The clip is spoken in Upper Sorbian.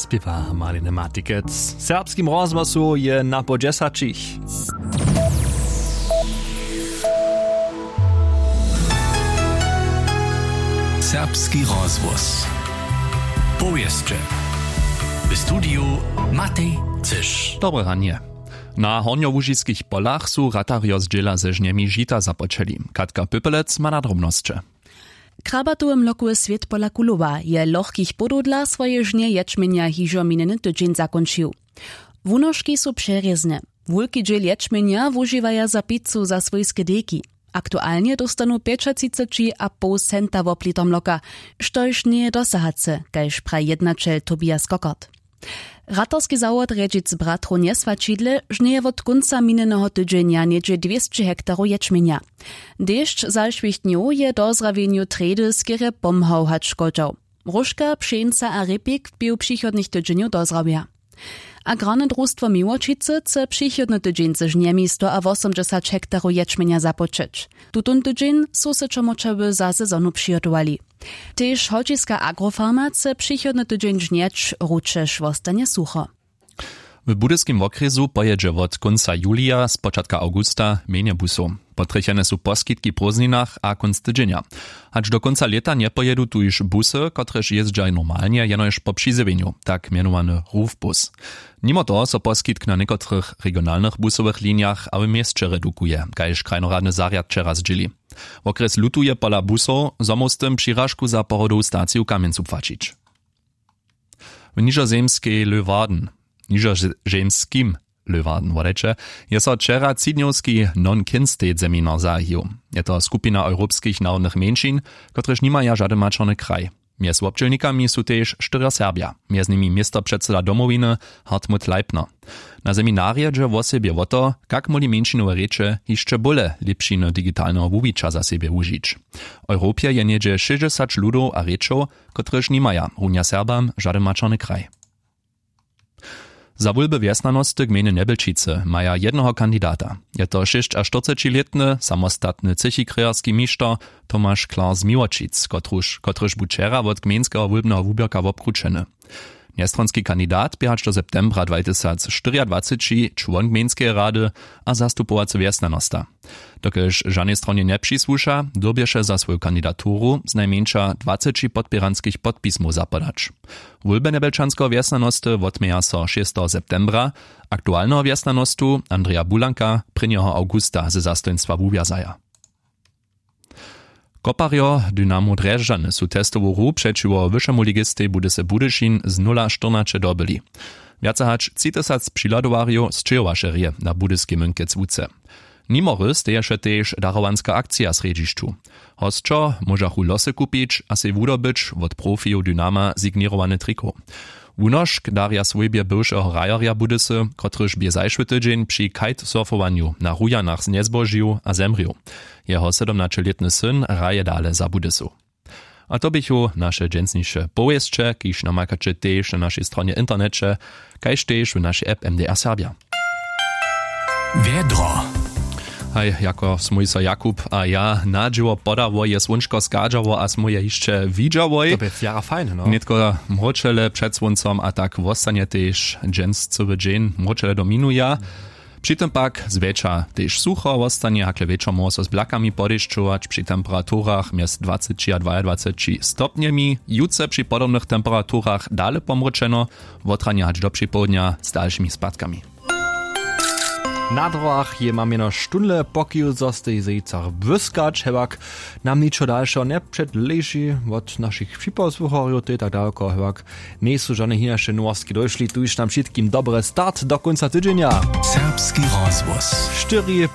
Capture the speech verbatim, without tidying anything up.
Spěwa Marlene Matikec. W serbskim rozhłosu je na po dźesaćich. Serbski rozhłos. Powěsće. W studiju Matej Cyš. Dobre ranje. Na hornjołužiskich polach su ratarjo z dźěla ze žnjemi žita započeli. Katka Pypelec ma na drobnosće. Krabatowy mlokowy swět pola Kulowa je lochkich płodow dla swoje žnje ječmjenja hižo minjeny tydźeń zakónčił. Wunožki su přerězne. Wulki dźěl ječmjenja wužiwaja za picu za swójske dejki. Aktualnje dóstanu pjećatřiceći a poł centa wob liter mloka, štož njeje dosahace, kaž praji jednaćel Tobias Kokert. Ratarski zawod rjedźic bratrow njeswaćidle žnjeje wot kónca minjeneho tydźenja něhdźe dwěsće hektarow ječmjenja. Dešć zašłych dnjow je dozrawjenju trjedy skerje pomhał hač škodźał. Róžka, pšeńca a rěpik bě w přichodnych tydźenjow dozrawja. Agrarne drustwo Miłočicy chce přichodny tydźeń ze žnjemi sto a wosomdźesać hektarow ječmjenja započeć. Tutón tydźeń su se čomorčawy za sezonu přihotowali. Tež holčiska agrofarma chce přichodny tydźeń žnjeć, ručež wostanje sucho. W budyskim wokrjesu pojědźe wot kónca julija spočatka awgusta mjenje busow. Potrjechene su poskitki w prózdninach a kónc tydźenja. Hač do kónca lěta njepojědu tuž busy, kotrež jězdźa normalnje jenož po přizjewjenju, tak mjenowany rufbus. Nimo toho so poskitk na někotrych regionalnych busowych linjach a w měsće redukuje, kaž krajnoradny zarjad wčera zdźěli. Wokrjes lutuje pola busow, zo móhł z tym přiražku za pohodowu staciju w kamjencu płaćić. W nižozemskej Löwarden, nižozemskim Löwarden wodajće, je so wčera třidnjowski non-kin-state seminar zahajił. Je to skupina europskich narodnych mjeńšin, kotrež nimaja žady maćerny kraj. Mjez wobdźělnikami su tež štyrjo Serbja, mjez nimi městopředsyda Domowiny Hartmut Leipner. Na seminarje dźe wosebje wo to, kak móhli mjeńšinowe rěče hišće bóle lěpšiny digitalneho wuwića za sebje wužić. W europje je něhdźe šěsćdźesać ludow a rěčow, kotrež nimaja runja Serbam žady maćerny kraj. Za wólby wjesnjanosty gmejny Njebjelčicy maja jednoho kandidata. Je to šěsćaštyrcećilětny samostatny třěchi krejerski mišter Tomaš Klar z Miłočic, kotruž kotryž bu wčera wot gmejnskeho wólbneho wuběrka wobkrućeny. Njestronski kandidat bě hač do septembra dwatysacštyriadwaceći čłon gmejnskeje rady a zastupowacy wjesnjanosta. Dokelž žanej stronje njepřisłuša, dyrbješe za swoju kandidaturu znajmjeńša dwaceći podpěranskich podpismow zapodać. Wólby njebjelčanskeho wjesnjanosty wotměja so šesteho septembra, aktualneho wjesnjanostu Andreja Bulanka prěnjeho awgusta ze zastojnstwa wuwjazaja. Koparjo Dynamo Drježdźany su testowu hru přećiwo wyšemu ligistej Budysy Budyšin z nula štyrnaće dobyli. Wjace hač tři tysac přihladowarjow sćěhowaše rě na budyskej mynkec łuce. Nimo hry steješe tež darowanska akcija w srjedźišću. Hosćo móžachu losy kupić a sej wudobyć wot profijow Dynama signěrowany trikow. Wunošk darja swójbje bywšeho hrajerja Budysy, kotryž bě zašły tydźeń při kitesurfowanju na Rujanach njezbožił a zemrěł. Jeho sydomnaćelětny syn hraje dale za Budysu. A to běchu naše dźensniše powěsće, kiž namakaće tež na našej stronje w interneće, kaž tež w našej app M D R Serbja. Wjedro. Haj, jako smój so Jakub a ja na dźěło podało, je słónčko schadźało a smój je hišće widźałoj. To bě wjera fajne, no. Nětko mróčele před słóncom a tak wostanje tež dźens cyły dźeń mróčele do minuja. Při tym pak zwjetša tež sucho wostanje, hakle wječor móhło so z blakami podešćować při temperaturach mjez dwaceći a dwajadwaceći stopnjemi. Jutře při podobnych temperaturach dale pomróčeno, wotranje hač do připołdnja z dalšimi spadkami. Na dróhach je mam jenož štónle, pokiwk zo stej zejcach błyskać, hewak nam ničo dalšeho njepředleži wot našich připosłucharjow, to je tak daloko, hewak njejsu žane hinaše nowostki dóšli, tuž nam wšitkim dobry start do kónca tydźenja. Serbski rozhłos. Štyri